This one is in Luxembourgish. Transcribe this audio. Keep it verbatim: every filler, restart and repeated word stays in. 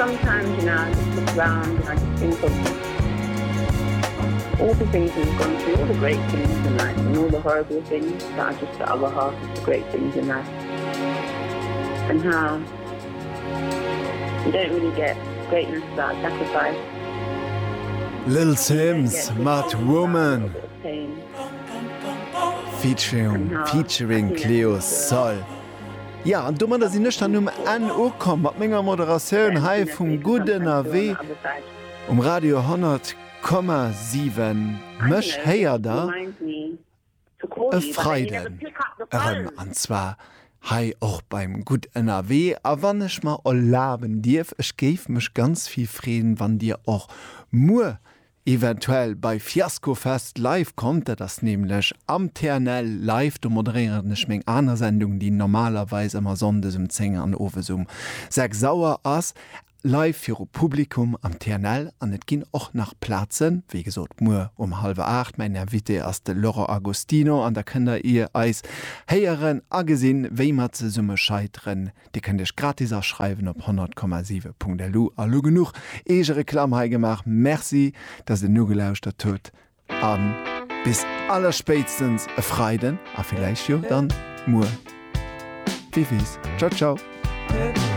Sometimes, you know, I just look around and I just think of all the things we've gone through, all the great things in life and all the horrible things that are just the other half of the great things in life. And how you don't really get greatness without sacrifice. Little Simz mat Woman featuring featuring Cleo Sol. Ja, an domadder sinn ech dann um Enn ukomm mat menger Moderatioun hei vum Gutt Ënnerwee um Radio honnert Komma siwen. Mech héiert der e Freiden erëm, an zwar hei och beim Gutt Ënnerwee. A wann ech mer erlaben dierf, ech géif mech ganz vill freeën, wann dir och muer eventuell bei Fiaskofest live kommt. Dat ass nämlech am T N L live, do moderéieren ech meng aner Sendung, déi normalerweis ëmmer sonndes um zéng an owes um sechs Auer ass, live viru Publikum am T N L an et ginn och nach Plazen, wéi gesot muer um hallwer aacht. Mäin Invité ass de Laurent Agostino an da kënnt der ier eis héieren a gesinn, wéi mer zesumme scheiteren. Dir kënnt iech gratis aschreiwen op honnert Komma siwe Punkt L U. A lo genuch Eegereklamm hei gemaach. Merci, dass der nogelauschtert hutt a bis allerspéitstens e Freiden a villäicht jo dann muer. Wie weess. Ciao ciao.